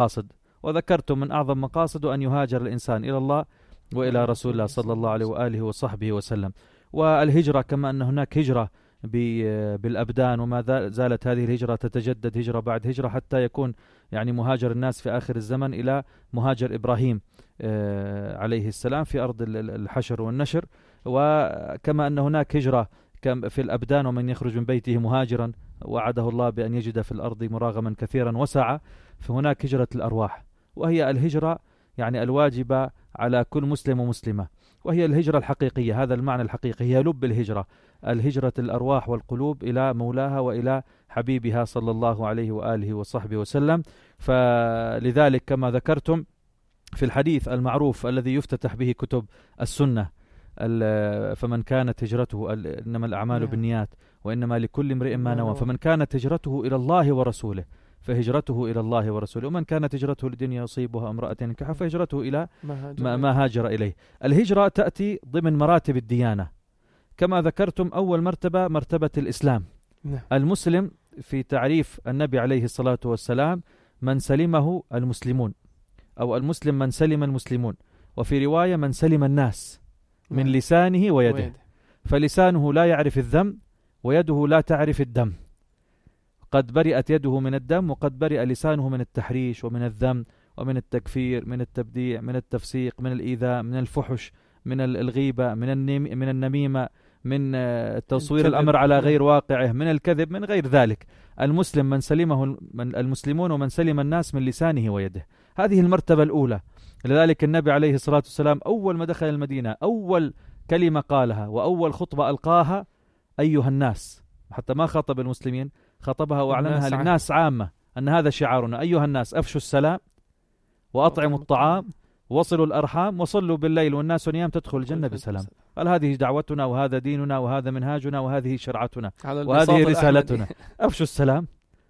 مقاصد، وذكرت من أعظم مقاصد أن يهاجر الإنسان إلى الله وإلى رسول الله صلى الله عليه وآله وصحبه وسلم. والهجرة كما أن هناك هجرة بالأبدان، وما زالت هذه الهجرة تتجدد هجرة بعد هجرة حتى يكون يعني مهاجر الناس في آخر الزمن إلى مهاجر إبراهيم عليه السلام في أرض الحشر والنشر. وكما أن هناك هجرة في الأبدان، ومن يخرج من بيته مهاجرا وعده الله بأن يجد في الأرض مراغما كثيرا وسعة، فهناك هجرة الأرواح، وهي الهجرة يعني الواجبة على كل مسلم ومسلمة، وهي الهجرة الحقيقية. هذا المعنى الحقيقي، هي لب الهجرة، الهجرة الأرواح والقلوب إلى مولاها وإلى حبيبها صلى الله عليه وآله وصحبه وسلم. فلذلك كما ذكرتم في الحديث المعروف الذي يفتتح به كتب السنة، فمن كانت هجرته، إنما الأعمال بالنيات وإنما لكل امرئ ما نوى، فمن كانت هجرته إلى الله ورسوله فهجرته إلى الله ورسوله، ومن كانت هجرته لدنيا يصيبها امرأة ينكحها فهجرته إلى ما هاجر إليه. الهجرة تأتي ضمن مراتب الديانة كما ذكرتم. أول مرتبة مرتبة الإسلام. المسلم في تعريف النبي عليه الصلاة والسلام من سلمه المسلمون، أو المسلم من سلم المسلمون، وفي رواية من سلم الناس من لسانه ويده. فلسانه لا يعرف الذم، ويده لا تعرف الدم. قد برئت يده من الدم، وقد برئ لسانه من التحريش ومن الذم ومن التكفير، من التبديع، من التفسيق، من الإيذاء، من الفحش، من الغيبة، من النميمة، من تصوير الأمر على غير واقعه، من الكذب، من غير ذلك. المسلم من سلمه المسلمون ومن سلم الناس من لسانه ويده. هذه المرتبة الأولى. لذلك النبي عليه الصلاة والسلام أول ما دخل المدينة أول كلمة قالها وأول خطبة ألقاها أيها الناس، حتى ما خاطب المسلمين، خطبها وأعلنها للناس عامة أن هذا شعارنا: أيها الناس أفشوا السلام وأطعموا الطعام وصلوا الأرحام وصلوا بالليل والناس نيام تدخل الجنة بسلام. قال هذه دعوتنا وهذا ديننا وهذا منهاجنا وهذه شرعتنا وهذه رسالتنا. أفشوا السلام،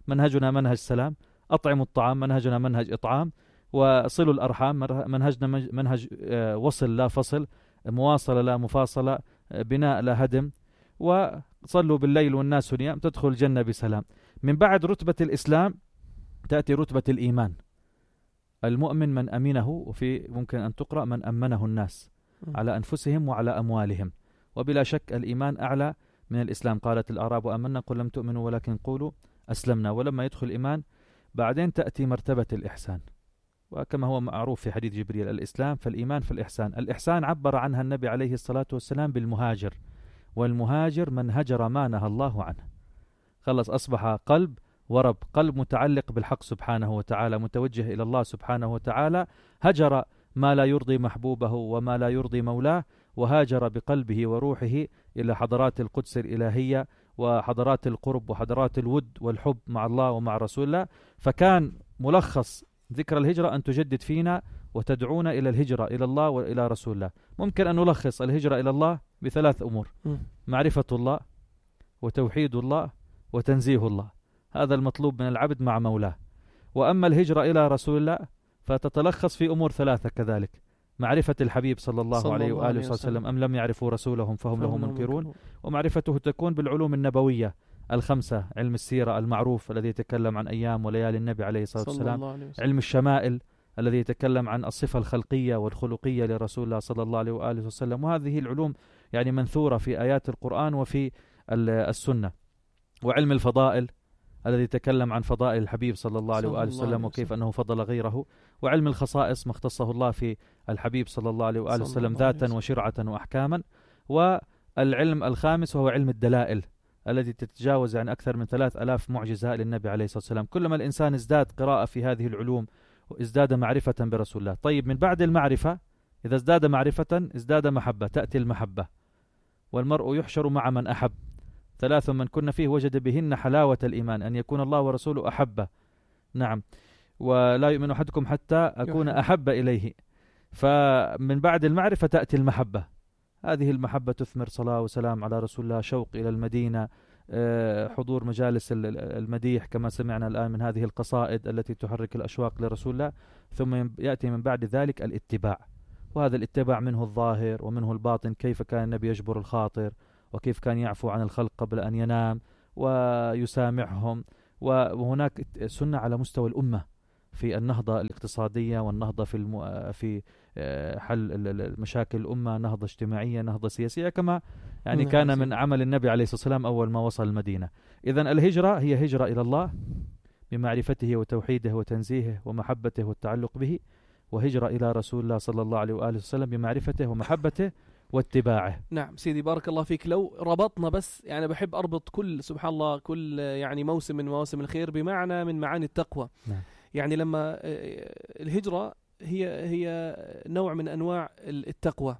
منهجنا منهج سلام. أطعموا الطعام، منهجنا منهج إطعام. وصلوا الأرحام، منهجنا منهج وصل لا فصل، مواصلة لا مفاصلة، بناء لا هدم. وصلوا بالليل والناس نيام تدخل الجنة بسلام. من بعد رتبة الإسلام تأتي رتبة الإيمان. المؤمن من أمنه، وفي ممكن أن تقرأ من أمنه الناس على أنفسهم وعلى أموالهم. وبلا شك الإيمان أعلى من الإسلام. قالت الأعراب آمنا قل لم تؤمنوا ولكن قولوا أسلمنا. ولما يدخل الإيمان بعدين تأتي مرتبة الإحسان، وكما هو معروف في حديث جبريل: الإسلام فالإيمان فالإحسان. الإحسان عبر عنها النبي عليه الصلاة والسلام بالمهاجر، والمهاجر من هجر ما نهى الله عنه. خلص أصبح قلب ورب، قلب متعلق بالحق سبحانه وتعالى، متوجه إلى الله سبحانه وتعالى، هجر ما لا يرضي محبوبه وما لا يرضي مولاه، وهاجر بقلبه وروحه إلى حضرات القدس الإلهية وحضرات القرب وحضرات الود والحب مع الله ومع رسول الله. فكان ملخص ذكر الهجرة أن تجدد فينا وتدعونا إلى الهجرة إلى الله وإلى رسول الله. ممكن أن نلخص الهجرة إلى الله بثلاث أمور: معرفة الله وتوحيد الله وتنزيه الله. هذا المطلوب من العبد مع مولاه. وأما الهجرة إلى رسول الله فتتلخص في أمور ثلاثة كذلك: معرفة الحبيب صلى الله عليه وآله وسلم أم لم يعرفوا رسولهم فهم له منكرون. ومعرفته تكون بالعلوم النبوية الخمسة: علم السيرة المعروف الذي يتكلم عن أيام وليالي النبي عليه الصلاة والسلام، علم الشمائل الذي يتكلم عن الصفة الخلقية والخلقية لرسول الله صلى الله عليه وآله وسلم. وهذه العلوم يعني منثورة في آيات القرآن وفي السنة. وعلم الفضائل الذي يتكلم عن فضائل الحبيب صلى الله عليه وآله وسلم وكيف أنه فضل غيره. وعلم الخصائص ما اختصه الله في الحبيب صلى الله عليه وآله وسلم ذاتا وشرعة وأحكاما. والعلم الخامس وهو علم الدلائل الذي تتجاوز يعني أكثر من 3000 معجزة للنبي عليه الصلاة والسلام. كلما الإنسان ازداد قراءة في هذه العلوم وازداد معرفة برسول الله. طيب، من بعد المعرفة إذا ازداد معرفة ازداد محبة، تأتي المحبة. والمرء يحشر مع من أحب. 3 من كن فيه وجد بهن حلاوة الإيمان، أن يكون الله ورسوله أحبه. نعم. ولا يؤمن أحدكم حتى أكون أحب إليه. فمن بعد المعرفة تأتي المحبة. هذه المحبة تثمر صلاة وسلام على رسول الله، شوق إلى المدينة، حضور مجالس المديح كما سمعنا الآن من هذه القصائد التي تحرك الأشواق لرسول الله. ثم يأتي من بعد ذلك الاتباع، وهذا الاتباع منه الظاهر ومنه الباطن. كيف كان النبي يجبر الخاطر، وكيف كان يعفو عن الخلق قبل أن ينام ويسامحهم. وهناك سنة على مستوى الأمة، في النهضة الاقتصادية والنهضة في حل المشاكل الأمة، نهضة اجتماعية، نهضة سياسية، كما يعني كان من عمل النبي عليه الصلاة والسلام أول ما وصل المدينة. إذن الهجرة هي هجرة إلى الله بمعرفته وتوحيده وتنزيهه ومحبته والتعلق به، وهجرة إلى رسول الله صلى الله عليه وآله وسلم بمعرفته ومحبته واتباعه. نعم سيدي بارك الله فيك. لو ربطنا بس، يعني بحب أربط كل سبحان الله كل يعني موسم من مواسم الخير بمعنى من معاني التقوى. نعم. يعني لما الهجرة هي نوع من أنواع التقوى،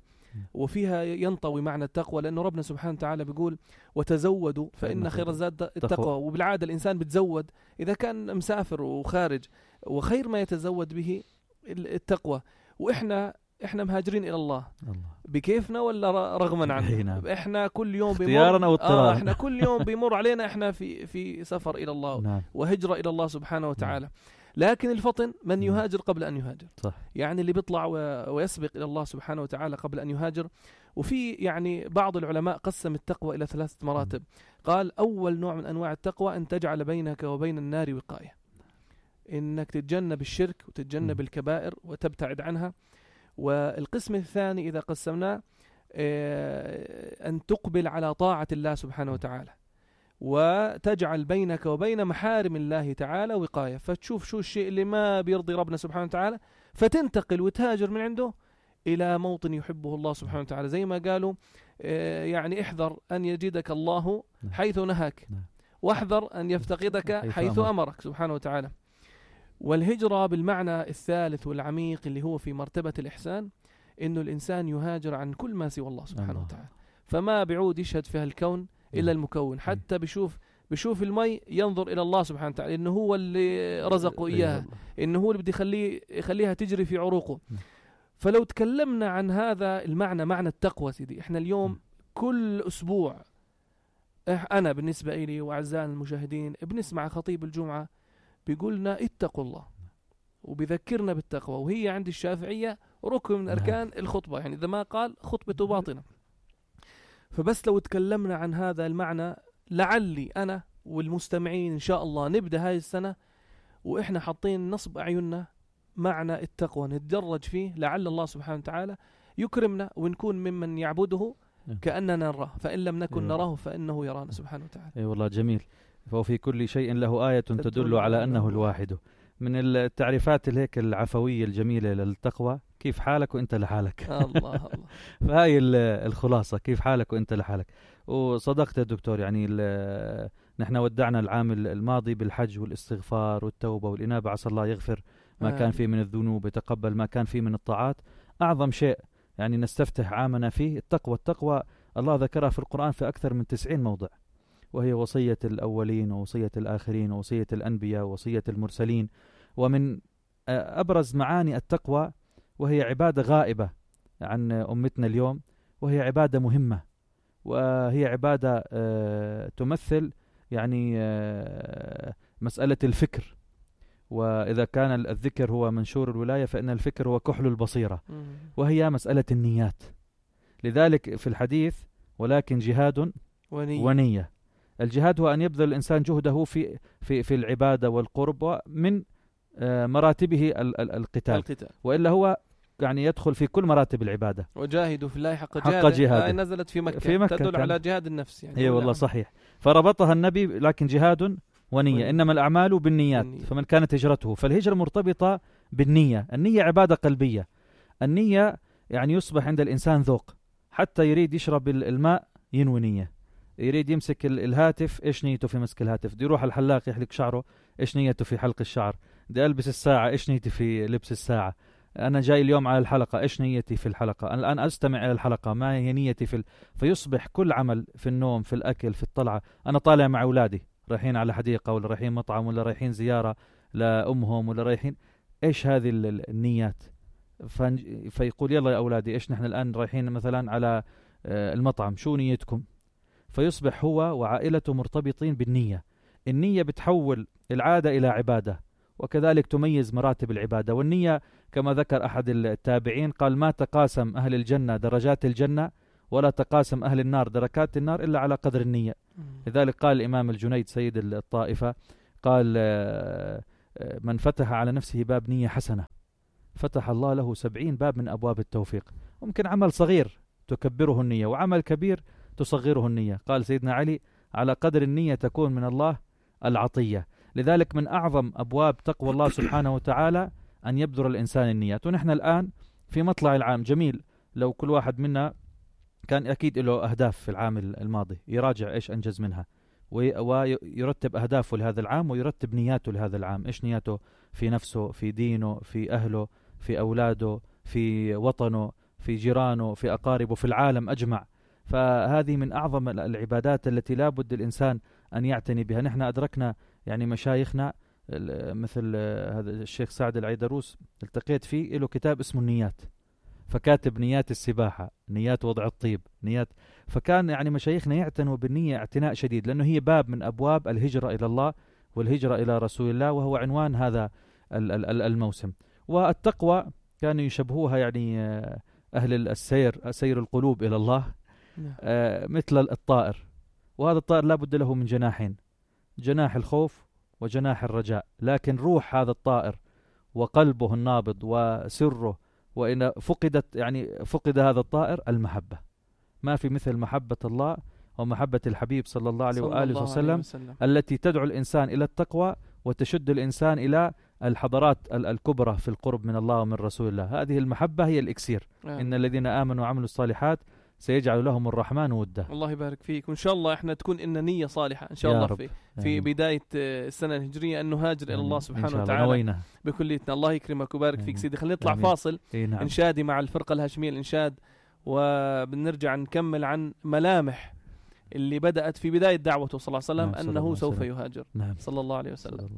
وفيها ينطوي معنى التقوى، لأنه ربنا سبحانه وتعالى بيقول وتزودوا فإن خير الزاد التقوى. وبالعادة الإنسان بتزود إذا كان مسافر وخارج، وخير ما يتزود به التقوى. وإحنا مهاجرين إلى الله بكيفنا ولا رغما عنه؟ إحنا كل يوم بيمر إحنا كل يوم بيمر علينا إحنا في سفر إلى الله. نعم. وهجرة إلى الله سبحانه وتعالى. لكن الفطن من يهاجر قبل أن يهاجر. صح. يعني اللي بيطلع ويسبق إلى الله سبحانه وتعالى قبل أن يهاجر. وفي يعني بعض العلماء قسم التقوى إلى 3 مراتب. قال أول نوع من أنواع التقوى أن تجعل بينك وبين النار وقاية، إنك تتجنب الشرك وتتجنب الكبائر وتبتعد عنها. والقسم الثاني إذا قسمناه أن تقبل على طاعة الله سبحانه وتعالى، وتجعل بينك وبين محارم الله تعالى وقاية، فتشوف شو الشيء اللي ما بيرضي ربنا سبحانه وتعالى فتنتقل وتهاجر من عنده إلى موطن يحبه الله سبحانه وتعالى. زي ما قالوا يعني احذر أن يجدك الله حيث نهاك، واحذر أن يفتقدك حيث أمرك سبحانه وتعالى. والهجرة بالمعنى الثالث والعميق اللي هو في مرتبة الإحسان، إنه الإنسان يهاجر عن كل ما سوى الله سبحانه وتعالى. فما بعود يشهد فيها الكون إلا المكون. حتى بشوف المي ينظر إلى الله سبحانه وتعالى، إنه هو اللي رزقه إياها، إنه هو اللي بده يخليها تجري في عروقه. فلو تكلمنا عن هذا المعنى، معنى التقوى سيدي، إحنا اليوم كل أسبوع أنا بالنسبة إلي وأعزائنا المشاهدين بنسمع خطيب الجمعة بيقولنا اتقوا الله، وبيذكرنا بالتقوى، وهي عند الشافعية ركن من أركان الخطبة، يعني إذا ما قال خطبته باطنة. فبس لو تكلمنا عن هذا المعنى، لعلي أنا والمستمعين إن شاء الله نبدأ هاي السنة وإحنا حاطين نصب أعيننا معنى التقوى، نتدرج فيه، لعل الله سبحانه وتعالى يكرمنا ونكون ممن يعبده كأننا نراه، فإن لم نكن نراه فإنه يرانا سبحانه وتعالى. أي والله جميل. ففي كل شيء له آية تدل على أنه الواحد. من التعريفات هيك العفوية الجميلة للتقوى، كيف حالك وانت لحالك. الله فهاي الخلاصة، كيف حالك وانت لحالك. وصدقت يا دكتور، يعني نحن ودعنا العام الماضي بالحج والاستغفار والتوبة والإنابة، عسى الله يغفر ما كان فيه من الذنوب، يتقبل ما كان فيه من الطاعات. أعظم شيء يعني نستفتح عامنا فيه التقوى. الله ذكرها في القرآن في أكثر من 90 موضع، وهي وصية الأولين ووصية الآخرين ووصية الأنبياء ووصية المرسلين. ومن أبرز معاني التقوى، وهي عبادة غائبة عن أمتنا اليوم، وهي عبادة مهمة، وهي عبادة تمثل يعني مسألة الفكر. وإذا كان الذكر هو منشور الولاية، فإن الفكر هو كحل البصيرة، وهي مسألة النيات. لذلك في الحديث ولكن جهاد ونية. الجهاد هو أن يبذل الإنسان جهده في العبادة والقرب، ومن مراتبه القتال، وإلا هو يعني يدخل في كل مراتب العبادة. وجاهدوا في الله حق جهاده. نزلت في مكة تدل على جهاد النفس يعني. هي والله صحيح. فربطها النبي لكن جهاد ونية. إنما الأعمال بالنيات، فمن كانت هجرته. فالهجرة مرتبطة بالنية. النية عبادة قلبية. النية يعني يصبح عند الإنسان ذوق، حتى يريد يشرب الماء ينوي نية، يريد يمسك الهاتف إيش نيته في مسك الهاتف، دي يروح الحلاق يحلق شعره إيش نيته في حلق الشعر، دي ألبس الساعة إيش نيتي في لبس الساعة، أنا جاي اليوم على الحلقة إيش نيتي في الحلقة، أنا الآن أستمع إلى الحلقة ما هي نيتي فيصبح كل عمل في النوم، في الأكل، في الطلعة. أنا طالع مع أولادي رايحين على حديقة، ولا رايحين مطعم، ولا رايحين زيارة لأمهم، ولا رايحين إيش هذه النيات. فيقول يلا يا أولادي إيش نحن الآن رايحين مثلا على المطعم، شو نيتكم؟ فيصبح هو وعائلته مرتبطين بالنية. النية بتحول العادة إلى عبادة، وكذلك تميز مراتب العبادة. والنية كما ذكر أحد التابعين قال ما تقاسم أهل الجنة درجات الجنة، ولا تقاسم أهل النار دركات النار إلا على قدر النية. لذلك قال الإمام الجنيد سيد الطائفة قال من فتح على نفسه باب نية حسنة فتح الله له 70 باب من أبواب التوفيق. ممكن عمل صغير تكبره النية، وعمل كبير تصغره النية. قال سيدنا علي: على قدر النية تكون من الله العطية. لذلك من أعظم أبواب تقوى الله سبحانه وتعالى أن يبذر الإنسان النيات. ونحن الآن في مطلع العام، جميل لو كل واحد منا كان أكيد له أهداف في العام الماضي، يراجع إيش أنجز منها ويرتب أهدافه لهذا العام ويرتب نياته لهذا العام. إيش نياته في نفسه، في دينه، في أهله، في أولاده، في وطنه، في جيرانه، في أقاربه، في العالم أجمع. فهذه من أعظم العبادات التي لا بد الإنسان أن يعتني بها. نحن أدركنا يعني مشايخنا مثل هذا الشيخ سعد العيدروس، التقيت فيه، له كتاب اسمه النيات، فكاتب نيات السباحة، نيات وضع الطيب، نيات. فكان يعني مشايخنا يعتنوا بالنية اعتناء شديد، لأنه هي باب من أبواب الهجرة إلى الله والهجرة إلى رسول الله، وهو عنوان هذا الموسم. والتقوى كانوا يشبهوها يعني أهل السير، سير القلوب إلى الله، مثل الطائر. وهذا الطائر لا بد له من جناحين، جناح الخوف وجناح الرجاء. لكن روح هذا الطائر وقلبه النابض وسره، وإن فقد هذا الطائر المحبة. ما في مثل محبة الله ومحبة الحبيب صلى الله عليه وآله وسلم التي تدعو الإنسان إلى التقوى وتشد الإنسان إلى الحضارات الكبرى في القرب من الله ومن رسول الله. هذه المحبة هي الإكسير. إن الذين آمنوا وعملوا الصالحات سيجعل لهم الرحمن ودا. الله يبارك فيك، وإن شاء الله إحنا تكون إن نية صالحة إن شاء الله في بداية السنة الهجرية أن نهاجر إلى الله سبحانه وتعالى بكليتنا. الله يكرمك وبارك فيك سيدي. خلينا نطلع فاصل إنشادي مع الفرقة الهاشمية الإنشاد، وبنرجع نكمل عن ملامح اللي بدأت في بداية دعوته صلى الله عليه وسلم أنه سوف يهاجر صلى الله عليه وسلم.